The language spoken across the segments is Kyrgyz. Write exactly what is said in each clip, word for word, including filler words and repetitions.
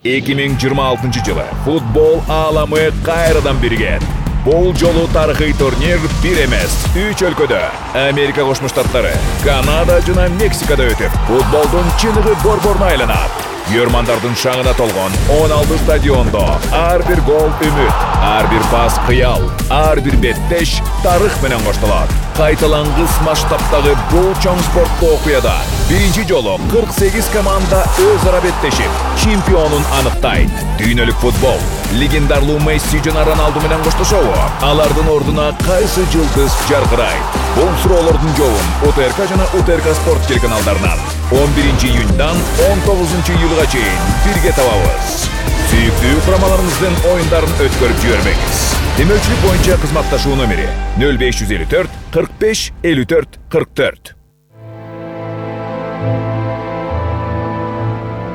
эки миң жыйырма алтынчы жылы футбол ааламы кайрадан биригет. Бул жолу тарыхый турнир бир эмес, үч өлкөдө, Америка Кошмо Штаттары, Канада жана Мексикада өтүп, футболдун чыныгы борборуна айланат. Көрмандардын шаңына толгон он алты стадиондо ар бир гол үмүт, ар бир пас кыял, ар бир беттеш тарых менен коштолот. Кайталангыс масштабтагы бул чоң спорттук окуяда биринчи жолу кырк сегиз команда өз ара беттешип, чемпионун аныктайт. Дүйнөлүк футбол легендарлуу Месси жана Роналду менен коштошобу? Алардын ордуна кайсы жылдыз жаркырайт? Бул суроолордун жообун УТРК жана УТРК спорт телеканалдарынан он биринчи июньдан он тогузунчу июлга чейин бирге табабыз. Сүйүктүү курамаларыңыздын оюндарын өткөрүп жибербеңиз. Демөчүлүк боюнча кызматташуу номери нөл беш жүз элүү төрт кырк беш элүү төрт кырк төрт.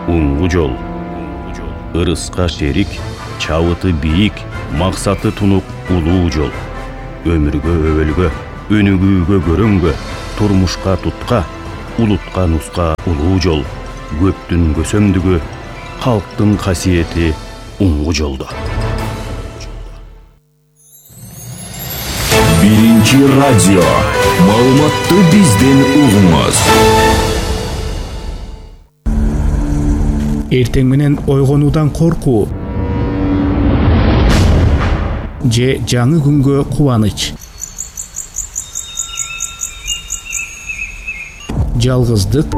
Уңгу жол. Ырыска шерик, чабыты бийик, максаты тунук улуу жол. Өмүргө өбөлгө, өнүгүүгө көрөнгө, турмушка тутка, улутка нуска улуу жол. Көптүн көсөмдүгү, халктын касиети уңгу жолдо. Биринчи радио. Маалыматты бизден угуңуз. Эртең менен ойгонуудан коркуу же жаңы күнгө кубаныч. Жалгыздык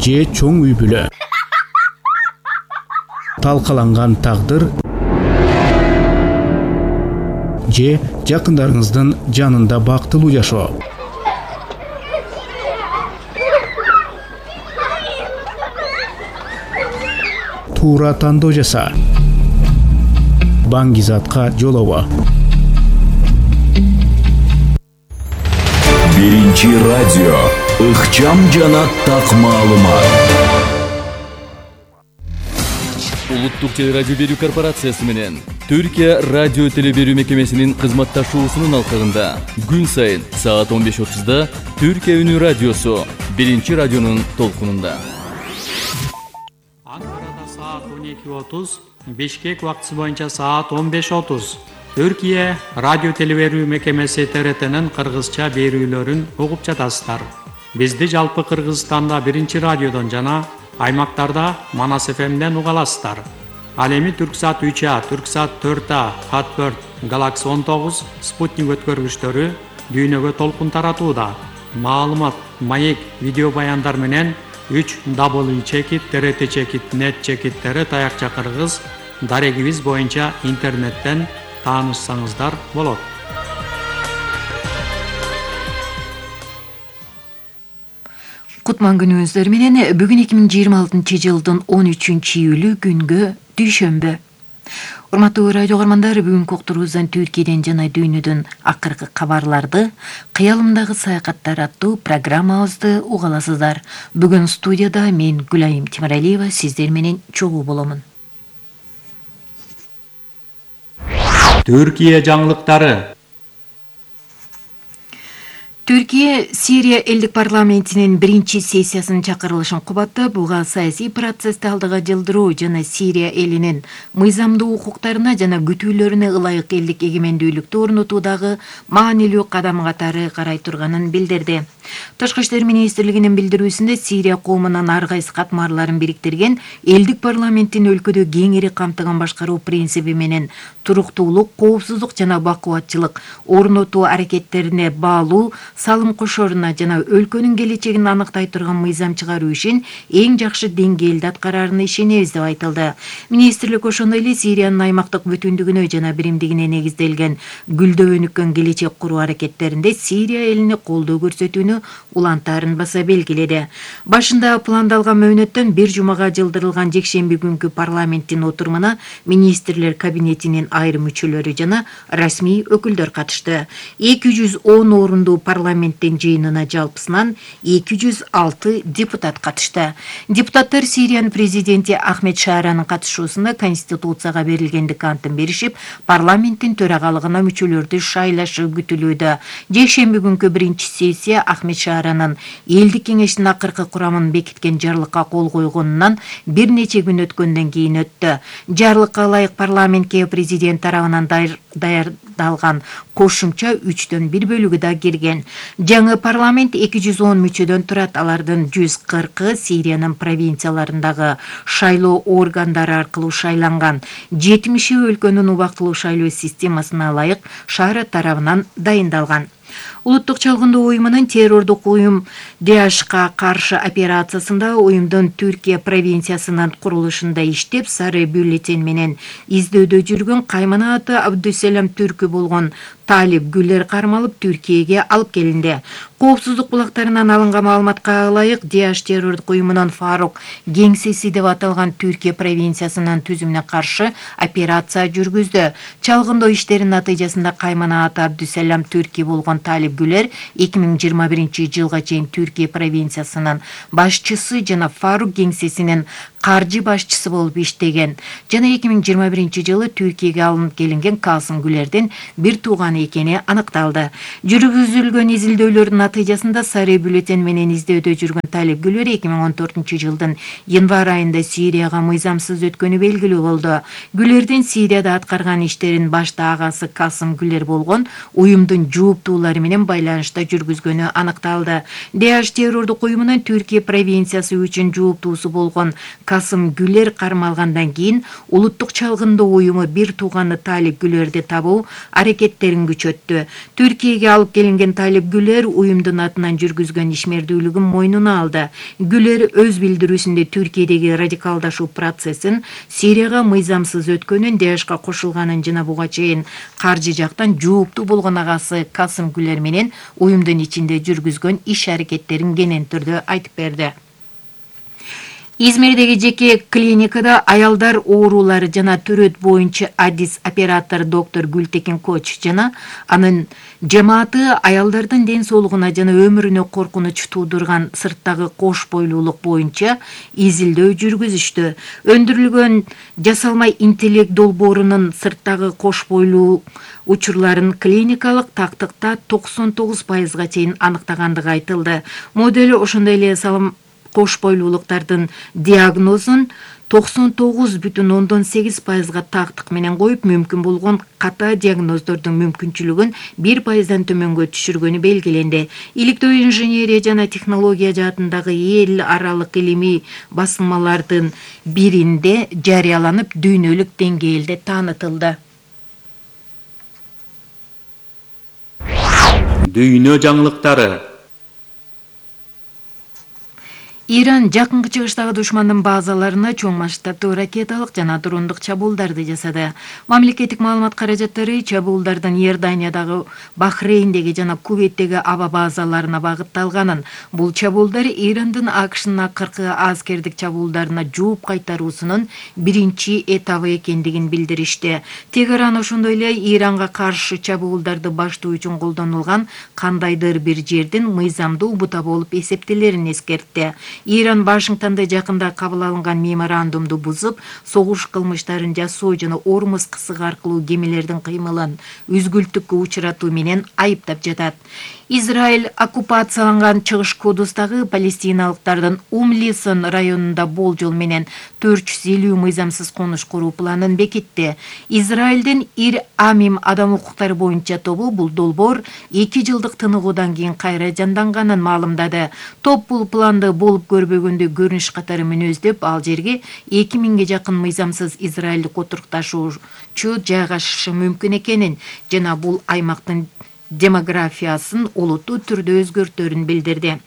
же чоң үй бүлө. Талкаланган тагдыр же жакындарыңыздын жанында бактылуу жашоо. Туура тандоо жаса. Баңгизатка жолобо. Биринчи радио. Ыкчам жана так маалымат. Улуттук телерадио берүү корпорациясы менен Түркия радио телеберүү мекемесинин кызматташуусунун алкагында күн сайын саат он беш отузда Түркия үнү радиосу биринчи радионун толкунунда. Анкарада саат он эки отуз, Бишкек убактысы боюнча саат он беш отуз. Түркия радио телеберүү мекемеси Т Р Т'нин кыргызча берүүлөрүн угуп жатасыздар. Бизди жалпы Кыргызстанда биринчи радиодон жана аймактарда Манас эф эмден уга аласыздар. Ал эми Түрксат үч А, Түрксат төрт А, Хатберт, Галакси он тогуз, Спутник өткөргүчтөрү дүйнөгө толкун таратууда. Маалымат, маек, видео баяндар менен үч дабл ю чекит, Т Р Т чекит, нет чекиттери таякча кыргыз дарегибиз боюнча интернеттен таанышсаңыздар болот. Кутман күнүңүздөр менен бүгүн эки миң жыйырма алтынчы жылдын он үчүнчү июлү күнгө дүйшөмбү. Урматтуу радио көрөрмандар, бүгүнкү уктуруубуздан Түркияден жана дүйнөдөн акыркы кабарларды, кыялымдагы саякаттар аттуу программабызды уга аласыздар. Бүгүн студияда мен Гүлайым Тимиралиева сиздер менен чогуу боломун. Түркия жаңылыктары. Түркия Сирия элдик парламентинин биринчи сессиясынын чакырылышын кубаттап, буга саясий процессти алдыга жылдыруу жана Сирия элинин мыйзамдуу укуктарына жана күтүүлөрүнө ылайык элдик эгемендүүлүктү орнотуудагы маанилүү кадам катары карай турганын билдирди. Тышкы иштер министрлигинин билдирүүсүндө Сирия коомунун ар кайсы катмарларын бириктирген элдик парламенттин өлкөдө кеңири камтыган башкаруу принциби менен туруктуулук, коопсуздук жана бакубатчылык орнотуу аракеттерине баалуу салым кошоруна жана өлкөнүн келечегин аныктай турган мыйзам чыгаруу ишин эң жакшы деңгээлде аткарарына ишенебиз деп айтылды. Министрлик ошондой эле Сириянын аймактык бүтүндүгүнө жана биримдигине негизделген гүлдөө өнүккөн келечек куруу аракеттеринде Сирия элине колдоо көрсөтүүнү улантаарын баса белгиледи. Башында пландалган мөөнөттөн бир жумага жылдырылган жекшемби күнкү парламенттин отурумуна министрлер кабинетинин айрым мүчөлөрү жана расмий өкүлдөр катышты. эки жүз он орунду парламент парламенттин жыйынына жалпысынан эки жүз алты депутат катышты. Депутаттар Сириянын президенти Ахмед Шааранын катышуусунда Конституцияга берилгендик антын беришип, парламенттин төрагалыгына мүчөлөрдү шайлашы күтүлүүдө. Жекшемби күнкү биринчи сессия Ахмед Шааранын элдик кеңештин акыркы курамын бекиткен жарлыкка кол койгонунан бир нече күн өткөндөн кийин өттү. Жарлыкка ылайык парламентке президент тарабынан даярдалган кошумча үчтөн бир бөлүгү да кирген. Жаңы парламент эки жүз он мүчөдөн турат. Алардын жүз кыркы Сириянын провинцияларындагы шайлоо органдары аркылуу шайланган. жетимиши өлкөнүн убактылуу шайлоо системасына ылайык Шаара тарабынан дайындалган. Улуттук чалгындоо уюмунун террордук уюм ДАЭШка каршы операциясында уюмдун Түркия провинциясынын курулушунда иштеп, сары бюллетень менен издөөдө жүргөн Кайманаты Абдусселам түркү болгон Талип Гүлер кармалып Түркияге алып келинди. Коопсуздук булактарынан алынган маалыматка ылайык, ДАЭШ террордук уюмунун Фарук кеңсеси деп аталган Түркия провинциясынын түзүмүнө каршы операция жүргүздү. Чалгындоо иштеринин натыйжасында Кайманаты Абдусселам түркү болгон Талип Гүлер эки миң жыйырма биринчи жылга чейин Түркия провинциясынын башчысы жана Фарук кеңсесинин каржы башчысы болуп иштеген. Жана эки миң жыйырма биринчи жылы Түркияге алынып келинген Касым Гүлердин бир тууганы экени аныкталды. Жүргүзүлгөн изилдөөлөрдүн натыйжасында сары бюллетень менен издөөдө жүргөн Талип Гүлер эки миң он төртүнчү жылдын январь айында Сирияга мыйзамсыз өткөнү белгилүү болду. Гүлердин Сирияда аткарган иштерин башта агасы Касым Гүлер болгон уюмдун жооптуулары менен байланышта жүргүзгөнү аныкталды. ДАЭШ террордук уюмунун Түркия провинциясы үчүн жооптуусу болгон Касым Гүлер кармалгандан кийин улуттук чалгындоо уюму бир тууганы Талип Гүлерди табуу аракеттерин күчөттү. Түркияге алып келинген Талип Гүлер уюмдун атынан жүргүзгөн ишмердүүлүгүн мойнуна алды. Гүлер өз билдирүүсүндө Түркиядеги радикалдашуу процессин Сирияга мыйзамсыз өткөнүн, ДАЭШка кошулганын жана буга чейин каржы жактан жооптуу болгон агасы Касым Гүлер менен уюмдун ичинде жүргүзгөн иш аракеттерин кенен түрдө айтып берди. Измирдеги жеке клиникада аялдар оорулары жана төрөт боюнча адис оператор доктор Гүлтекин Коч жана анын жамааты аялдардын ден соолугуна жана өмүрүнө коркунуч туудурган сырттагы кош бойлуулук боюнча изилдөө жүргүзүштү. Өндүрүлгөн жасалмай интеллект долбоорунун сырттагы кош бойлуу учурларын клиникалык тактыкта токсон тогуз пайызга чейин аныктагандыгы айтылды. Модель ошондой эле салым кош бойлуулуктардын диагнозун токсон тогуз бүтүн ондон сегиз пайызга тактык менен коюп, мүмкүн болгон ката диагноздордун мүмкүнчүлүгүн бир пайыздан төмөнгө түшүргөнү белгиленди. Иликтөө инженерия жана технология жаатындагы эл аралык илимий басылмалардын биринде жарыяланып, дүйнөлүк деңгээлде таанытылды. Дүйнө жаңылыктары. Иран жакынкы чыгыштагы душмандын базаларына чоң масштабтуу ракеталык жана дрондук чабуулдарды жасады. Мамлекеттик маалымат каражаттары чабуулдардын Иорданиядагы, Бахрейндеги жана Кувейттеги аба базаларына багытталганын, бул чабуулдар Ирандын АКШнын акыркы аскердик чабуулдарына жооп кайтаруусунун биринчи этабы экендигин билдиришти. Тегеран ошондой эле Иранга каршы чабуулдарды баштоо үчүн колдонулган кандайдыр бир жердин мыйзамдуу бута болуп эсептелерин эскертти. Иран Вашингтонда жакында кабыл алынган меморандумду бузуп, согуш кылмыштарын жасоо жана Ормуз кысыгы аркылуу кемелердин кыймылын үзгүлтүккө учуратуу менен айыптап жатат. Израиль оккупацияланган Чыгыш Кудустагы палестиналыктардын Умлисон районунда болжол менен төрт жүз элүү мыйзамсыз конуш куруу планын бекитти. Израилдин Ир Амим адам укуктары боюнча тобу бул долбоор эки жылдык тыныгуудан кийин кайра жанданганын маалымдады. Топ бул планды болуп көрбөгөндө көрүнүш катары мүнөздөп, ал жерге эки миңге жакын мыйзамсыз израилдик отурукташуучу жайгашышы мүмкүн экенин жана бул аймактын демографиясын олуттуу түрдө өзгөртөрүн билдирди.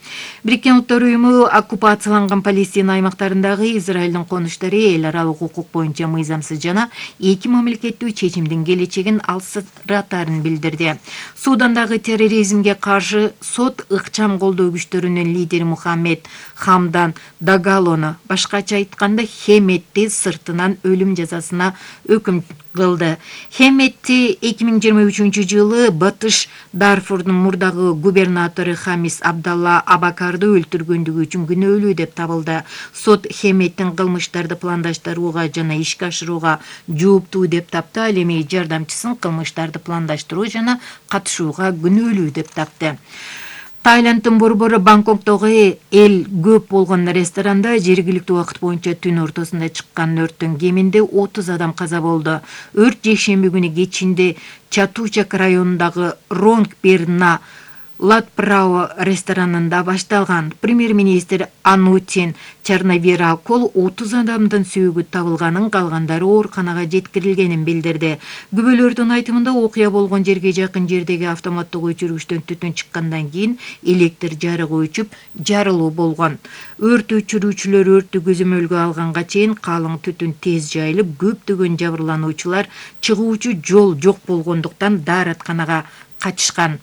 Бириккен Улуттар уюму оккупацияланган Палестина аймактарындагы Израилдин конуштары эл аралык укук боюнча мыйзамсыз жана эки мамлекеттүү чечимдин келечегин алсыратарын билдирди. Судандагы терроризмге каршы сот ыкчам колдоо күчтөрүнүн лидери Мухаммед Хамдан Дагалону, башкача айтканда Хеметти, сыртынан өлүм жазасына өкүм кылды. Хемметти эки миң жыйырма үчүнчү жылы Батыш Дарфурдун мурдагы губернатору Хамис Абдалла Абакарды өлтүргөндүгү үчүн күнөөлүү деп табылды. Сот Хемметтин кылмыштарды пландаштырууга жана ишке ашырууга жооптуу деп тапты, ал эми жардамчысын кылмыштарды пландаштыруу жана катышууга күнөөлүү деп тапты. Тайланддын борбору Бангкоктогу эл көп болгон ресторанда жергиликтүү убакыт боюнча түн ортосунда чыккан өрттөн кеминде отуз адам каза болду. Өрт жекшемби күнү кечинде Чатучак районундагы Ронгперна Латпрао ресторанында башталган. Премьер-министр Анутин Чарнавиракол отуз адамдын сүйүгү табылганын, калгандары ооруканага жеткирилгенин билдирди. Күбөлөрдүн айтымында окуя болгон жерге жакын жердеги автоматтык өчүргүчтөн түтүн чыккандан кийин электр жарыгы өчүп, жарылуу болгон. Өрт өчүрүүчүлөр өрттү көзөмөлгө алганга чейин калың түтүн тез жайылып, көптөгөн жабырлануучулар чыгуучу жол жок болгондуктан дааратканага качышкан.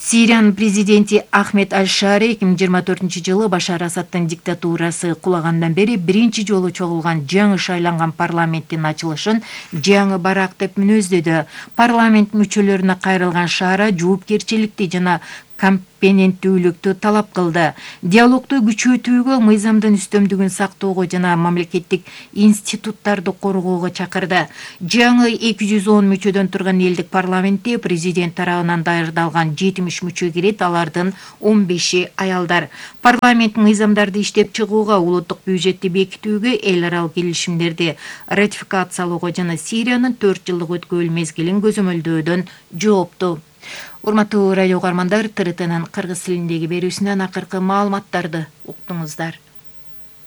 Сириянын президенти Ахмед Аль-Шари эки миң жыйырма төртүнчү жылы Башар Асадтын диктатурасы кулагандан бери биринчи жолу чогулган жаңы шайланган парламенттин ачылышын жаңы барак деп мүнөздөдү. Парламент мүчөлөрүнө кайрылган Шара жоопкерчиликти жана компетенттүүлүктү талап кылды. Диалогду күчөтүүгө, мыйзамдын үстөмдүгүн сактоого жана мамлекеттик институттарды коргоого чакырды. Жаңы эки жүз он мүчөдөн турган элдик парламентте президент тарабынан даярдалган жетимиш мүчө кирет, алардын он беши аялдар. Парламент мыйзамдарды иштеп чыгууга, улуттук бюджетти бекитүүгө, эл аралык келишимдерди ратификациялоого жана Сириянын төрт жылдык өткөрүл мезгилин көзөмөлдөөдөн жоопту. Урматтуу радио угармандар, ТРТнын кыргыз тилиндеги берүүсүнөн акыркы маалыматтарды уктуңуздар.